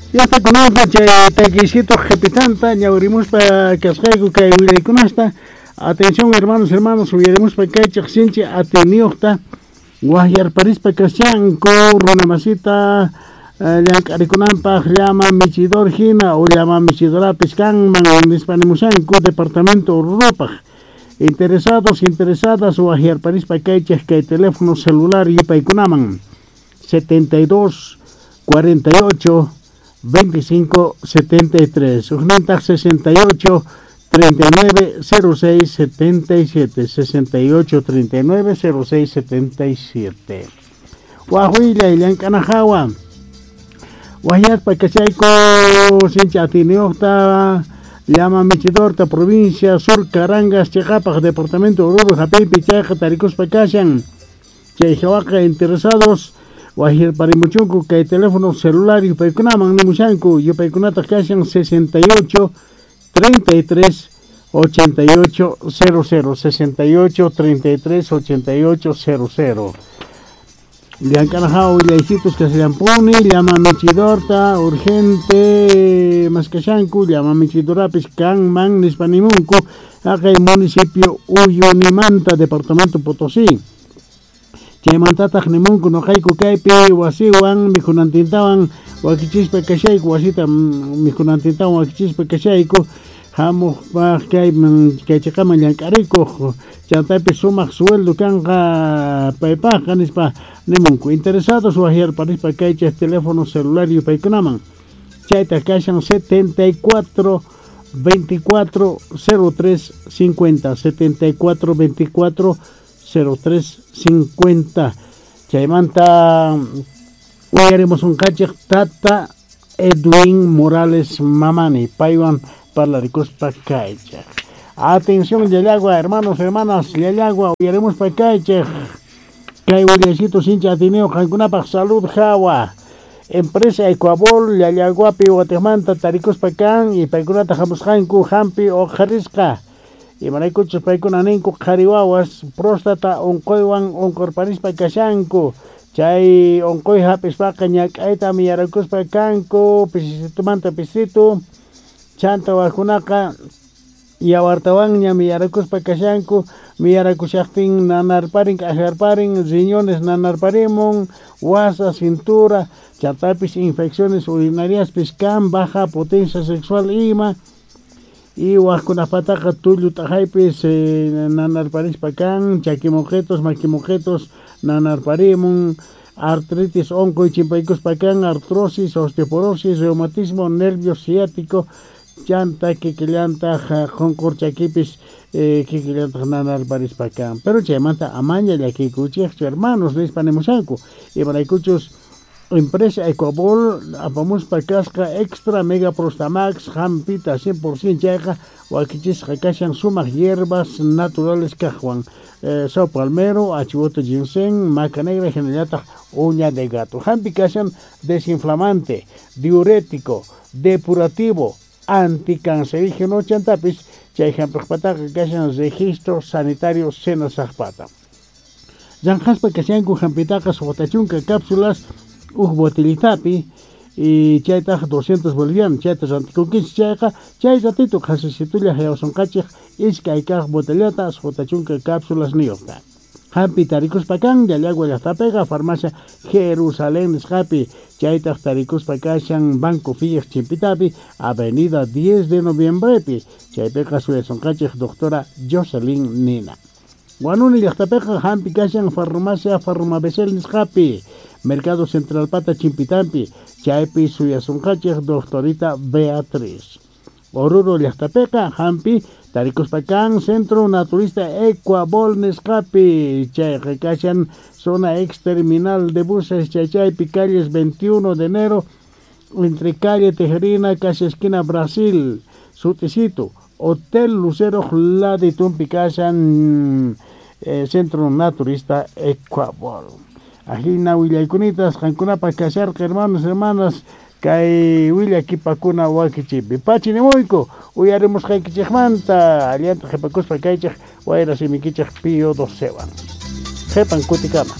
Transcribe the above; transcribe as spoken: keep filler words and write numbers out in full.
Ya kunanqa chay takisito qhipitanta ñawrimuspa kasqayku kay willaykunasta. Atención, hermanos, hermanos, uyarimuspa kaychej sinchi ateniyuqta waqyarparispa kashanku runamasita llank'arikunanpaq llama michidor hina o llama michidorapis kanman nispa nimushanku departamento Orurupaq. Interesados, interesadas waqyarparispa kaychej kay teléfono celular yupaykunaman setenta y dos cuarenta y ocho veinticinco setenta y tres, ujnintaq sesenta y ocho treinta y nueve cero seis setenta y siete, sesenta y ocho treinta y nueve cero seis setenta y siete. Waj willay llank'ana hawa waqyaspa kashayku sinchi atiniyuqta llama michidorta provincia Sur Carangas chiqapaq departamento Oruro hap'iypi chayqa tarikuspa kashan chay hawaqa interesados waqyarparimuchunku kay teléfono celular yupaykunaman nimushanku yupaykunataq kashan sesenta y ocho treinta y tres ochenta y ocho cero cero, sesenta y ocho treinta y tres ochenta y ocho cero cero. Llank'ana hawa willaysitus kashallampuni llama michidorta urgente maskashanku llama michidorapis kanman nispa nimunku haqay municipio Uyunimanta departamento Potosí. Chaymantataq nimunku nuqayku kaypi wasiwan mikhunantintawan wakichispa kashayku wasita mikhunantintawan wakichispa kashayku hamuqpaq kayman kay chiqaman llank'arikuq chantapis sumaq sueldo kanqa paypaqqa nispa nimunku. Interesados waqyarparispa kaychej teléfono celular yupaykunaman chaytaq kashan setenta y cuatro veinticuatro cero tres cincuenta, setenta y cuatro veinticuatro cero tres cincuenta. Chaymanta uyarimus unqachej tata Edwin Morales Mamani paywan parlarikuspa kaychej. Atención, Llallagua, hermanos, hermanas, Llallagua, uyarimuspa kaychej kay willaysitu sinchi atiniyuq qankunapaq salud hawa. Empresa Ecuabol Llallaguapi watiqmanta tarikuspa kan y paykunata hamusqanku hampi uqharisqa imaraykuchus paykuna ninku qhari wawas próstata unquywan unqurparispa kashanku chay unquy hap'ispaqa ñak'ayta miyarakuspa kanku pisisitumanta pisitu chanta wajkunaqa yawartawanña miyarakuspa kashanku miyarakushaqtin nanarparin k'ajarparin riñones nanarparimun wasa cintura chantapis infecciones urinariaspis kan baja potencia sexual ima y wajkunapataqa tullu t'aqaypis eh, nanarparispa kan chakimoqetos makimoqetos nanarparimun artritis unquy chimpaykuspa kan artrosis, osteoporosis, reumatismo, nervio ciático chanta kikillantaq qunqur chakipis eh, kikillantaq nanarparispa kan. Pero chaymanta amaña llakiykuchikchu, hermanos, nispa nimushanku imaraykuchus empresa Ecuabol apamuspa kasqa extra mega prostamax hampita cien por ciento chayqa wakichisqa kashan sumaq hierbas naturales kaqwan eh, sao palmero, achivote, ginseng, maca negra hinallataq uña de gato. Hampi kashan desinflamante, diurético, depurativo, anticancerígeno chantapis chay hampiqpataqa kashan registro sanitario Senasaqpata. Llanqaspa kashanku hampitaqa suqta chunka cápsulas uj botellitapi y chaytaq doscientos bolivianos chayta rantikunkichik chayqa chay ratito qhasisitulla hayawasunqachik iskay kaq botellata suqta chunka cápsulas niyuqta. Hampi tarikuspa kan Llallagua llaqtapiqa farmacia Jerusalén nisqapi chaytaq tarikuspa kashan Banco Filliq chimpitapi avenida diez de noviembrepi chaypiqa suyasunqachik doctora Jocelyn Nina. Huanuni llaqtapiqa hampi kashan farmacia Farmabesel nisqapi Mercado Central pata chimpitampi chaypi suyasunqachik doctorita Beatriz. Oruro llaqtapiqa hampi tarikuspa kan Centro Naturista Ecuabol nisqapi chayqa kashan zona ex terminal de buses chaychaypi calles veintiuno de enero entre calle Tejerina casi esquina Brasil sutisito Hotel Lucero laditumpi kashan eh, Centro Naturista Ecuabol. Ajina willaykunitas qankunapaq kasharqa, hermanos, hermanas, kay willakipakuna wakichipi pachi nimuyku uyarimusqaykichikmanta allanta qhipakuspa kaychik wayra simikichik Pío docewan qhipan kutikama.